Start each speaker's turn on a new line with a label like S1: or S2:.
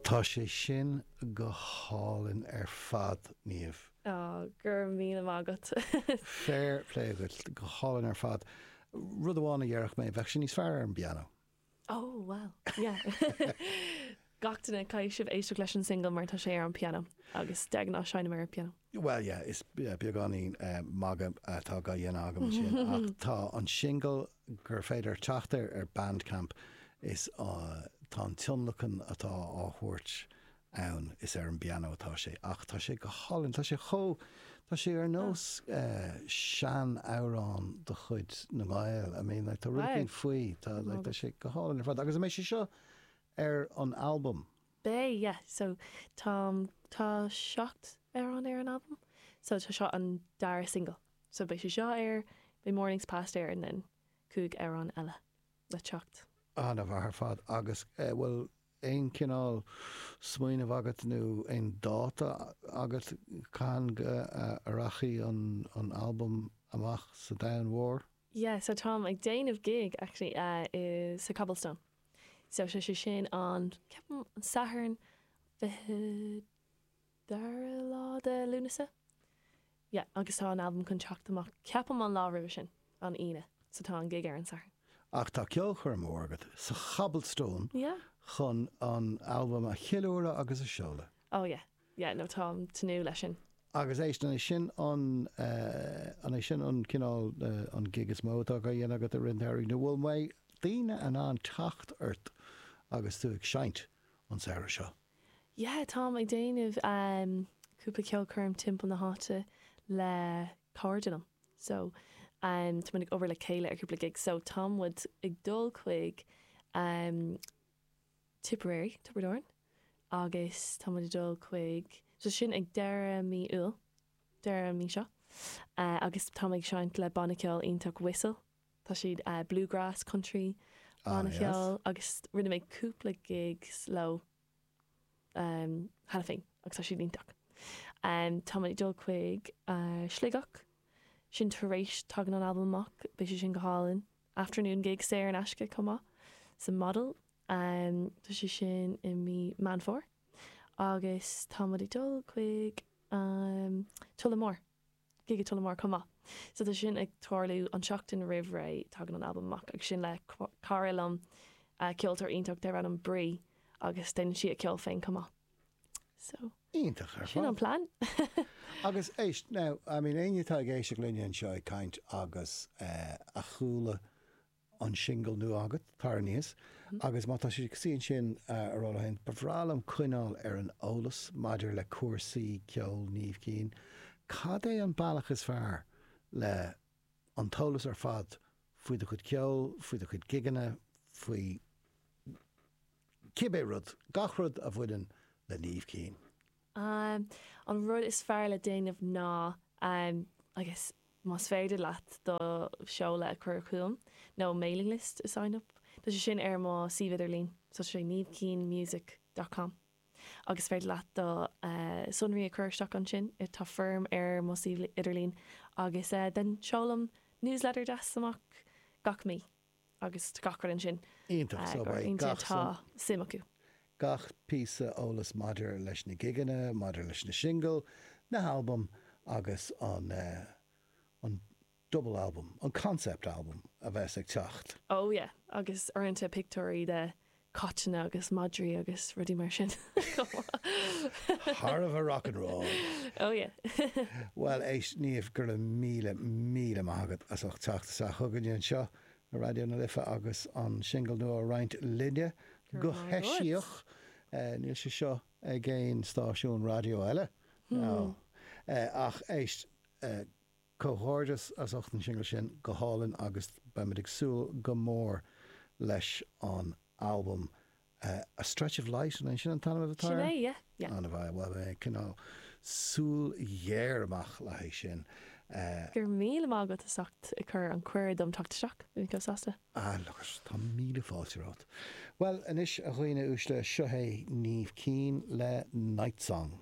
S1: Tá sé sin go hálainn ar fad, Niamh.
S2: Á, go raibh míle maith agat.
S1: Fair play duit, go hálainn ar fad. Rud amháin a dhéarfadh mé, bheadh sé níos fearr ar an bpianó.
S2: Oh, well, yeah. Gach duine, caithfidh sibh éisteacht leis an single mar tá sé ar an pianó agus de ghnáth seinnim ar an pianó.
S1: Bhuel, yeah, is beagáinín magadh atá á dhéanamh agam ansin ach tá an singil gur féidir teacht air ar Bandcamp is tá an tionlacan atá á thabhairt ann, is ar an bpianó atá sé ach tá sé go hálainn, tá sé chomh, tá sé ar nós sean-amhrán de chuid na nGael, I mean like tá rud éicint faoi, tá like tá sé go hálainn ar fad agus an mbeidh sé seo ar an albam?
S2: Beidh, yeah, so tá, tá 7 amhrán ar an albam so tá seo an dara single so beidh sé seo air, beidh Mornings Past air and then 5 amhrán eile le teacht.
S1: An-mhaith ar fad agus bhfuil aon chineál smaoineamh agat nó aon dáta agat cathain a rachaidh an albam amach sa domhan mhór?
S2: Yeah, so táim ag déanamh gig actually i sa Cobblestone. So tá sé sin an, ceapaim, an Satharn 22 lá de Lúnasa. Yeah, agus tá an albam chun teacht amach, ceapaim an lá roimhe sin, an Aoine. So tá an gig ar an Satharn.
S1: Ach tá ceolchoirm mhór agat sa Chobblestone
S2: Yeah.
S1: chun an albam a cheiliúradh agus a seoladh.
S2: Oh yeah, yeah, no táim tnúth leis sin.
S1: Agus éist, an é sin an, an é sin an cineál, an gig is mó atá á dhéanamh agat i rith an tsamhraidh nó bhfuil mbeidh daoine in ann teacht ort agus tú ag seinnt an samhradh seo?
S2: Yeah, táim ag déanamh cúpla ceolchoirm timpeall na háite le cairde liom. So, tá muid ag obair le chéile ar cúpla gig. So, tá muid ag dul chuig Tipperary, Tiobraid Árann, agus tá muid ag dul chuig, so sin ag deireadh mí Iúil, deireadh an mí seo, agus tá mé ag seinnt le banna ceoil iontach Whistle. Tá siad bluegrass, country, banna ceoil agus rinne mé cúpla gigs leo cheana féin agus tá siad iontach. Tá mé ag dul chuig Sligeach, sin tar éis tagann an albam amach, beidh sé sin go hálainn. Afternoon gig saor in aisce chomh maith sa Model, tá sé sin i mí Meán Fómhair. Agus tá muid ag dul chuig Tullamore. gig i Tullamore chomh maith. So tá sin ag tarlú an tseachtain roimh ré tagann an albam amach agus sin le cara liom, ceoltóir iontach darb ainm Brí agus déanann sí a ceol féin chomh maith. So
S1: Iontach ar
S2: sin an
S1: fad.
S2: plean.
S1: Agus éist, now, I mean éinne atá ag éisteacht linne anseo ag caint agus a chuala an singil nua agat, Tar Aníos, agus má tá siad ag suí ansin a rá leo féin, ba bhreá liom coinneáil ar an eolas maidir le cúrsaí ceoil Niamh Keane, cad é an bealach is fearr le an t-eolas ar fad faoi do chuid ceoil, faoi do chuid gigeanna, faoi cibé rud, gach rud a bhaineann le Niamh Keane?
S2: An rud is fearr le déanamh ná, I guess, más féidir leat do sheoladh a chur chugam nó mailing list a sign up, tá sé sin ar mo suíomh idirlín, so tá sé niamhkeanemusic dot com agus is féidir leat do sonraí a chur isteach ansin, tá foirm ar mo suíomh idirlín agus then seolaim newsletter deas amach gach mí. agus tá gach rud ansin
S1: Iontach, so beidh gach
S2: tá suim acu.
S1: gach píosa eolas maidir leis na gigeanna, maidir leis na singil, na halbaim agus an an double album, an concept album a bheas ag teacht.
S2: Oh yeah, agus uaireanta pictiúirí de caitéanna agus madraí agus rudaí mar sin chomh
S1: maith. Thar a bheith rock and roll.
S2: Oh yeah.
S1: Bhuel, éist, Niamh, go raibh míle, míle maith agat as ucht teacht isteach chugainne anseo ar Raidió na Life agus an singil nua a roinnt linne go heisiach. Níl sé seo ag aon stáisiún raidió eile. No. Ach éist, Comhghairdeas as ucht an singil sin, go hálainn agus beimid ag súil go mór leis an albam A Stretch of Light, an é sin an t-ainm atá
S2: air? Sin é, yeah, yeah.
S1: An-mhaith, bhuel beidh mé ag coinneáil súil ghéar amach le haghaidh sin.
S2: Go raibh míle maith agat as ucht ag cur an cuireadh dom teacht isteach, bhí mé chomh sásta.
S1: Ah, look it, tá míle fáilte romhat. Bhuel, anois a dhaoine uaisle, seo é Niamh Keane le Night Song.